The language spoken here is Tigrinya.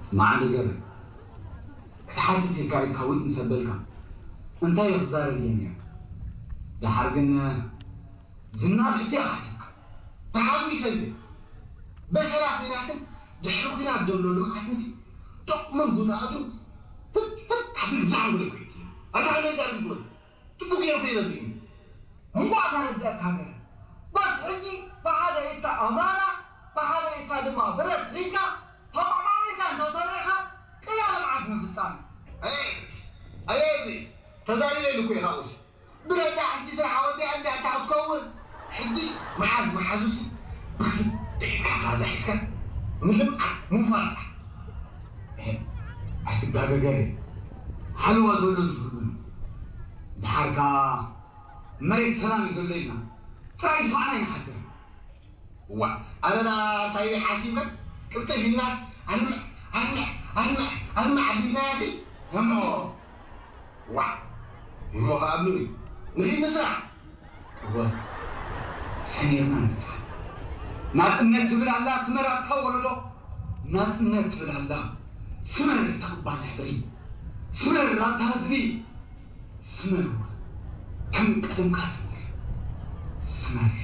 ስማዕ ነገር ክትሓትት ኢልካ ኢድካ ዊጥ ምስ ኣበልካ እንታይ እዩ ክዛረብ እየ ነይሩ። ደሓር ግን ዝናብ ሕጂ ሓቲትካ ተሓጒሰ እየ። በሰላ ኲናትን ድሕሪ ኲናት ዘሎ ልምዓትን ሲ ጥቕምን ጉድኣቱን ፍትፍት ኣቢሉ ብዛዕባ ጉዳይ ኮይቱ እዩ። ኣታ ከመይ ዛረብ ይጎል ጽቡቕ ገይሩ ከይረድእ እዩ። እንኳዕ ተረዳእካ ገለ። በስ ሕጂ ብሓደ ኢድካ ኣውራና ብሓደ ኢድካ ድማ ብረት ሒዝካ ተቋማሚርካ እንተሰሪዕካ ቅያ ልምዓት ምፍጻም። ኣየ እብሪስ ኣየ እብሪስ ተዛሪበ ኢሉ እኮ ኢኻ ኡሲ ብረዳ ሕጂ ስራሕ ወዲኣ እንዲያ እንታ ክትከውን ሕጂ መሓዝ መሓዙሲ ብክልተ ኢድካ ራዛ ሒዝካ ንልምዓት ምፋጣ ኣይትጋገገር ሓለዋ ዘሎ ዝህሉን ድሓርካ መሬት ሰላም እዩ ዘሎ ኢልና ጥራይ ድፋዕና ይንሓድር። ዋ ኣነና እንታይ ሓሲበ ቅልጥፍ ኢልናስ ኣንምዕ ኣንምዕ ኣንምዕ ኣንምዕ ኣቢልናያሲ እሞ ዋ እሞ ከኣ ምኑ ንኺድ ንስራሕ እወ ሰሚርና ንስራሕ ናጽነት ትብል ኣላ ስመር ኣታ ወለዶ ናጽነት ትብል ኣላ ስመር እታ ክባን ሕድሪ ስመር ኣታ ህዝቢ ስመር ከም ቀደምካ ስመር ስመር